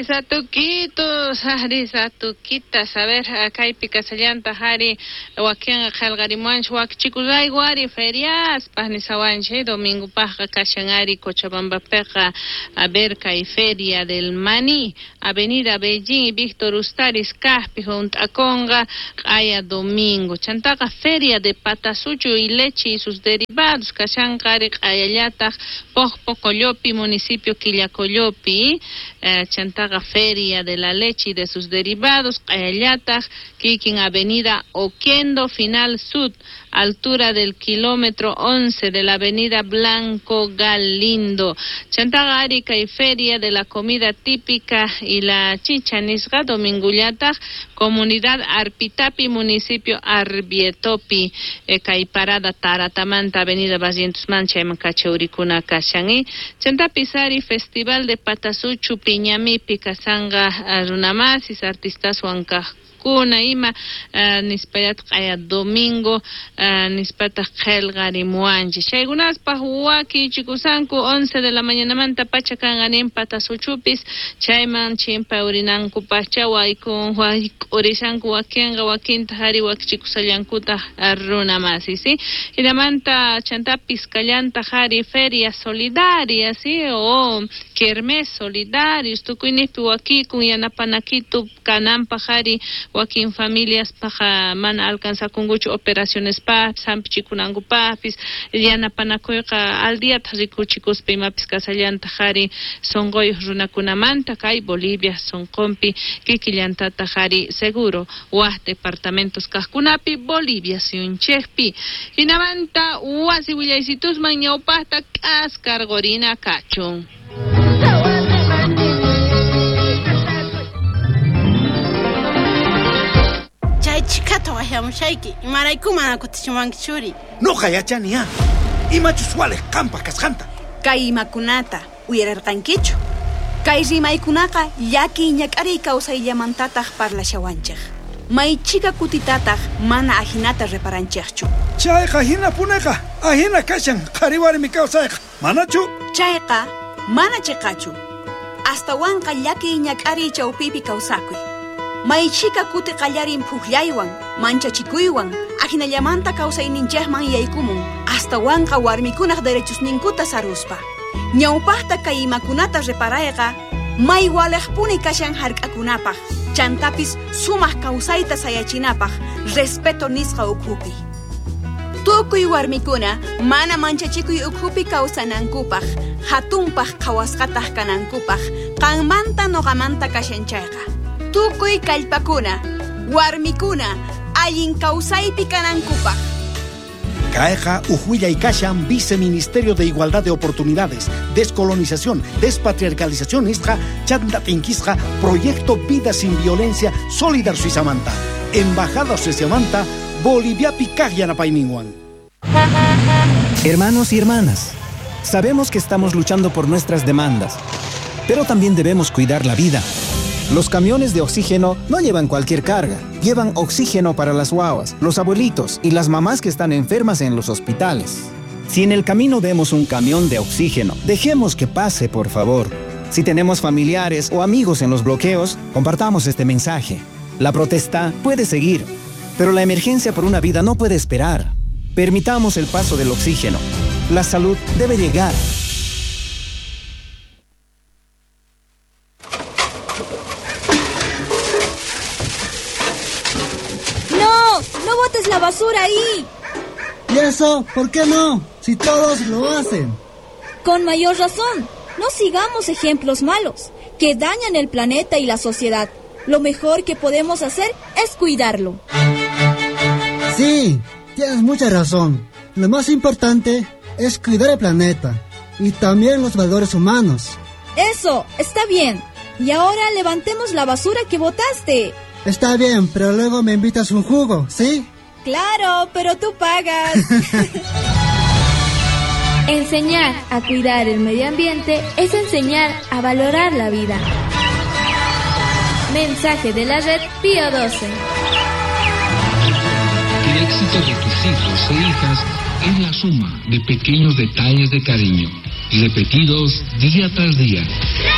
Aris atukitos, aris atukitas. A ver, kaypi kasallantaq ari wakinqa qillqarimuwanchik wakichikurayku ari feriaspaq nisawanchik domingopaqqa kashan ari Cochabambapiqa. A ver, kay Feria del Maní, Avenida Beijing y Víctor Ustaris kaqpi hunt'akunqa q'aya domingo. Chantaqa Feria de Patasuchu y Leche y sus derivados kashanqa ari q'ayallataq Pojpocollopi, municipio Quillacollopi. Chantaqa Feria de la Leche y de sus derivados q'ayallataq kikin Avenida Oquendo Final Sud, altura del kilómetro 11 de la Avenida Blanco Galindo. Chantaqa ari kay Feria de la Comida Típica y la Chicha nisqa domingullataq Comunidad Arpitapi, municipio Arbietopi, kay parada Taratamanta, Avenida Barrientos-man chayman kachaurikuna kashan. Chantapis ari Festival de Patasuchu Piñamipi kasanqa runamasis artistaswan kaqkuna ima nispallataq q'aya domingo nispataq qillqarimuwanchik. Chaykunaspaq wakichikusanku 11 de la mañanamanta pacha kanqa nin Patasuchupis chayman chimpa urinankupaqcha wayk'urishanku wakinqa wakintaq ari wakichikusallankutaq runamasis, ¿sí? Hinamanta chantapis kallantaq ari Feria Solidaria, ¿sí? O Kermés Solidarios tukuyniqpi wakikun yanapanakitu kananpaq ari wakin familias paqa mana alcanzakunkuchu operacionespaqpis hampichikunankupaqpis yanapanakuyqa al diataq rikuchikuspa imapis kasallantaq ari sunquyuq runakunamanta kay Bolivia sunqunpi kikillantataq ari seguro waq departamentos kaqkunapi Bolivia suyunchikpi. Hinamanta wasi willaysitusman ñawpaqta k'askarqurina kachun. Chay chikata waqyamushayki, imarayku mana kutichiwanki churi? Noqa yachani ya, imachus waliq qampaq kasqanta. Kay imakunata uyararqankichu? Kay rimaykunaqa llakiy ñak'ariy kawsayllamantataq parlashawanchik. Maychika kutitataq mana ajinata reparanchikchu. Chayqa hinapuneqa, ajina kashan qhari warmi kawsayqa, manachu? Chayqa mana chiqachu. Astawanqa llakiy ñak'ariy chawpipi kawsakuy. Maychika kuti qallarin phuqllaywan, manchachikuywan, ajinallamanta kawsayninchikman yaykumun, astawanqa warmikunaq derechosninkuta saruspa. Ñawpaqta kay imakunata reparayqa, may waliqpuni kashan hark'akunapaq, chantapis sumaq kawsayta sayachinapaq, respeto nisqa ukhupi. Tukuy warmikuna mana manchachikuy ukhupi kawsanankupaq, hatunpaq qhawasqataq kanankupaq, qanmanta noqamanta kashan chayqa. Tukuy kallpakuna, warmikuna, allin kawsaypi kanankupaq. Kayqa uj kashan Viceministerio de Igualdad de Oportunidades, Descolonización, Despatriarcalización nisqa chanta tinkisqa Proyecto Vida Sin Violencia Solidar Suizamanta, Embajada Suizamanta, Boliviapi kaq yanapayninwan. Hermanos y hermanas, sabemos que estamos luchando por nuestras demandas, pero también debemos cuidar la vida. Los camiones de oxígeno no llevan cualquier carga, llevan oxígeno para las guaguas, los abuelitos y las mamás que están enfermas en los hospitales. Si en el camino vemos un camión de oxígeno, dejemos que pase, por favor. Si tenemos familiares o amigos en los bloqueos, compartamos este mensaje. La protesta puede seguir, pero la emergencia por una vida no puede esperar. Permitamos el paso del oxígeno. La salud debe llegar. ¡No! ¡No botes la basura ahí! ¿Y eso? ¿Por qué no? Si todos lo hacen. Con mayor razón. No sigamos ejemplos malos que dañan el planeta y la sociedad. Lo mejor que podemos hacer es cuidarlo. Sí, tienes mucha razón. Lo más importante es cuidar el planeta y también los valores humanos. Eso, está bien. Y ahora levantemos la basura que botaste. Está bien, pero luego me invitas un jugo, ¿sí? Claro, pero tú pagas. Enseñar a cuidar el medio ambiente es enseñar a valorar la vida. Mensaje de la red Pío XII. El éxito de tus hijos e hijas es la suma de pequeños detalles de cariño, repetidos día tras día.